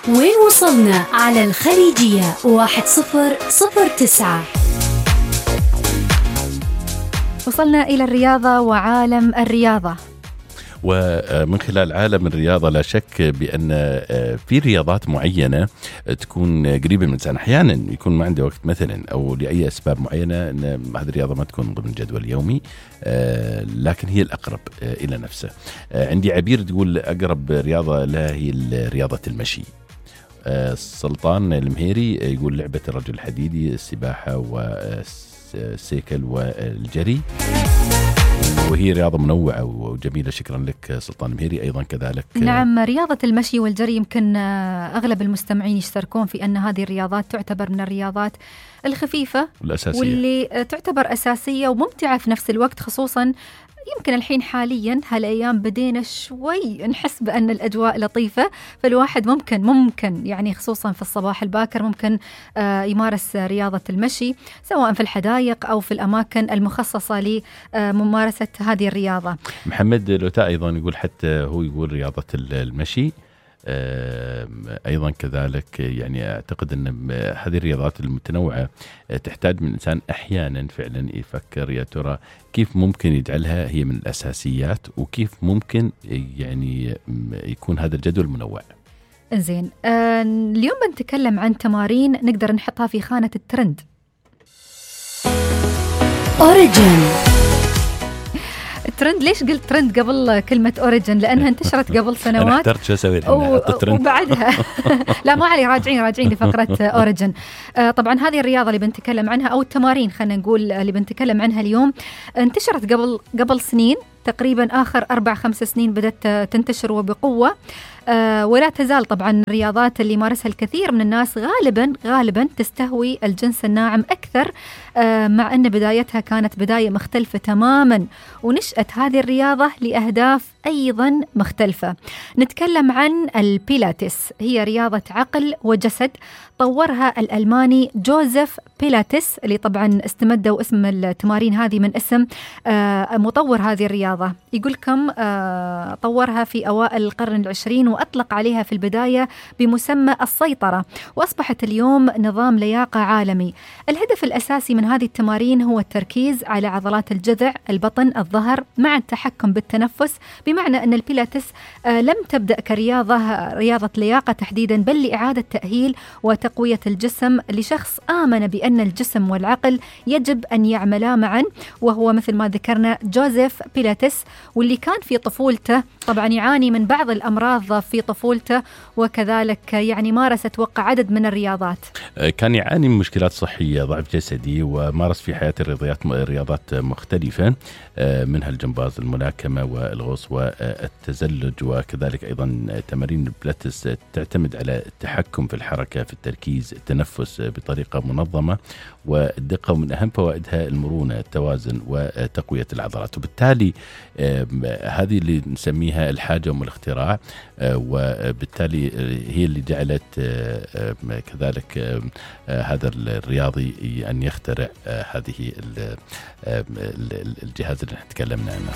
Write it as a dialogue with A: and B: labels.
A: وين وصلنا على الخليجية 1009.
B: وصلنا إلى الرياضة وعالم الرياضة.
C: ومن خلال عالم الرياضة لا شك بأن في رياضات معينة تكون قريبة من الإنسان. أحيانا يكون ما عنده وقت مثلا أو لأي أسباب معينة أن هذه الرياضة ما تكون ضمن جدول يومي، لكن هي الأقرب إلى نفسه. عندي عبير تقول أقرب رياضة لها هي رياضة المشي. سلطان المهيري يقول لعبة الرجل الحديدي، السباحة والسيكل والجري، وهي رياضة منوعة وجميلة. شكرا لك سلطان المهيري. أيضا كذلك
B: نعم، رياضة المشي والجري يمكن أغلب المستمعين يشتركون في أن هذه الرياضات تعتبر من الرياضات الخفيفة
C: والأساسية،
B: واللي تعتبر أساسية وممتعة في نفس الوقت. خصوصا يمكن الحين حاليا هالأيام بدينا شوي نحس بأن الأجواء لطيفة، فالواحد ممكن يعني خصوصا في الصباح الباكر ممكن يمارس رياضة المشي سواء في الحدائق أو في الأماكن المخصصة لممارسة هذه الرياضة.
C: محمد لوتاء أيضا يقول، حتى هو يقول رياضة المشي أيضا كذلك. يعني أعتقد أن هذه الرياضات المتنوعة تحتاج من الإنسان أحيانا فعلا يفكر يا ترى كيف ممكن يجعلها هي من الأساسيات، وكيف ممكن يعني يكون هذا الجدول منوع.
B: زين، اليوم بنتكلم عن تمارين نقدر نحطها في خانة الترند.
A: أوريجين.
B: الترند، ليش قلت ترند قبل كلمة أوريجين؟ لأنها انتشرت قبل سنوات.
C: أنا اخترت شو أسوي
B: وبعدها لا ما علي، راجعين لفقرة أوريجين. طبعا هذه الرياضة اللي بنتكلم عنها أو التمارين خلينا نقول اللي بنتكلم عنها اليوم انتشرت قبل سنين تقريبا، آخر 4-5 سنين بدأت تنتشر وبقوة. ولا تزال طبعا الرياضات اللي يمارسها الكثير من الناس غالبا تستهوي الجنس الناعم أكثر، مع أن بدايتها كانت بداية مختلفة تماما، ونشأت هذه الرياضة لأهداف أيضا مختلفة. نتكلم عن البيلاتس، هي رياضة عقل وجسد طورها الألماني جوزيف بيلاتس، اللي طبعا استمدوا اسم التمارين هذه من اسم مطور هذه الرياضة. يقول كم طورها في أوائل القرن العشرين، وأطلق عليها في البداية بمسمى السيطرة، وأصبحت اليوم نظام لياقة عالمي. الهدف الأساسي من هذه التمارين هو التركيز على عضلات الجذع، البطن، الظهر، مع التحكم بالتنفس، بمعنى أن البيلاتس لم تبدأ رياضة لياقة تحديدا، بل لإعادة تأهيل وتقوية الجسم لشخص آمن بأن الجسم والعقل يجب أن يعملا معا، وهو مثل ما ذكرنا جوزيف بيلاتس، واللي كان في طفولته طبعا يعاني من بعض الأمراض في طفولته، وكذلك يعني مارس أتوقع عدد من الرياضات.
C: كان يعاني من مشكلات صحية، ضعف جسدي، ومارس في حياته رياضات مختلفة، منها الجمباز، الملاكمة، والغوص، والتزلج، وكذلك أيضا تمارين البيلاتس تعتمد على التحكم في الحركة، في التركيز، التنفس بطريقة منظمة والدقة، ومن أهم فوائدها المرونة، التوازن، وتقوية العضلات. وبالتالي هذه اللي نسميها الحاجة والاختراع، وبالتالي هي اللي جعلت كذلك هذا الرياضي أن يخترع هذه الجهاز اللي تكلمنا عنه.